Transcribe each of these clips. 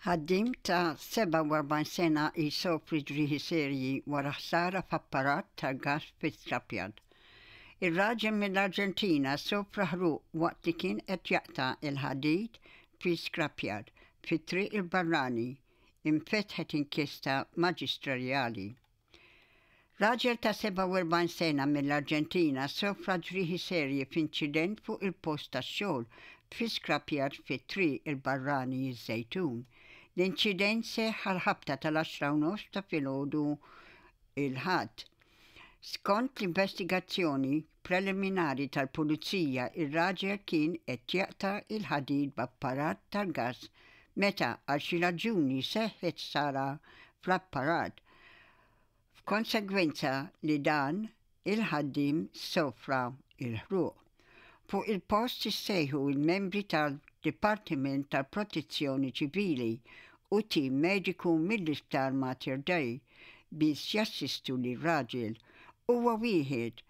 Ħaddiem ta' 47 sena jsofri ġrieħi serji wara ħsara f'apparat tal-gass fi scrapyard. Ir-raġel mill-Arġentina sofra ħruq waqt li kien qed jaqta' l-ħadid fi scrapyard fi Triq il-Barrani. Infetħet inkjesta maġistrerjali. Raġel ta' 47 sena mill-Arġentina sofra ġrieħi serji f'inċident fuq il-post tax-xogħol fi scrapyard fi Triq il-Barrani ż-Żejtun. L-inċident seħħ għall-ħabta tal-għaxra u nofs ta' filgħodu il-Ħadd. Skont l-investigazzjoni preliminari tal-Pulizija ir-raġel kien qed jaqta' l-ħadid b'apparat tal-gass meta għal xi raġuni seħħet ħsara fl-apparat F'konsegwenza li dan il-ħaddiem sofra l-ħruq. Fuq il-post issejħu l-membri tad-Dipartiment tal-Protezzjoni Ċivili u tim mediku mill-Isptar Mater Dei biex jassistu lir-raġel. Huwa wieħed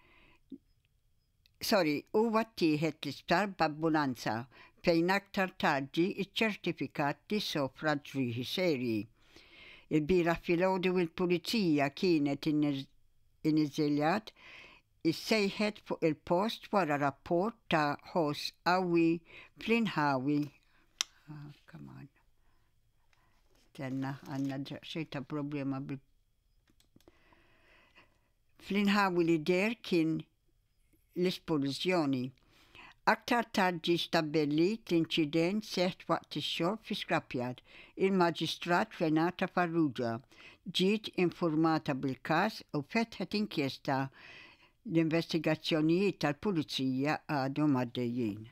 Sorry, huwa ttieħed l-isptar b'ambulanza fejn aktar tard ġie ċċertifikat li sofra ġrieħi serji. Ilbieraħ filgħodu il-Pulizija kienet iniżiljat issejħet fuq il-post wara rapport ta' ħoss qawwi fl-inħawi ah, come on. Tenna għandna daqsxejn ta' problema bil Fl-inħawi li deher kien l-isplużjoni. Aktar tard ġie stabbilit l-inċident seħħ waqt ix-xogħol fi scrapyard. Il-Maġistrat Renata Farrugia ġiet infurmata bil-każ u fetħet inkjesta. L-investigazzjonijiet tal-Pulizija għadhom għaddejjin.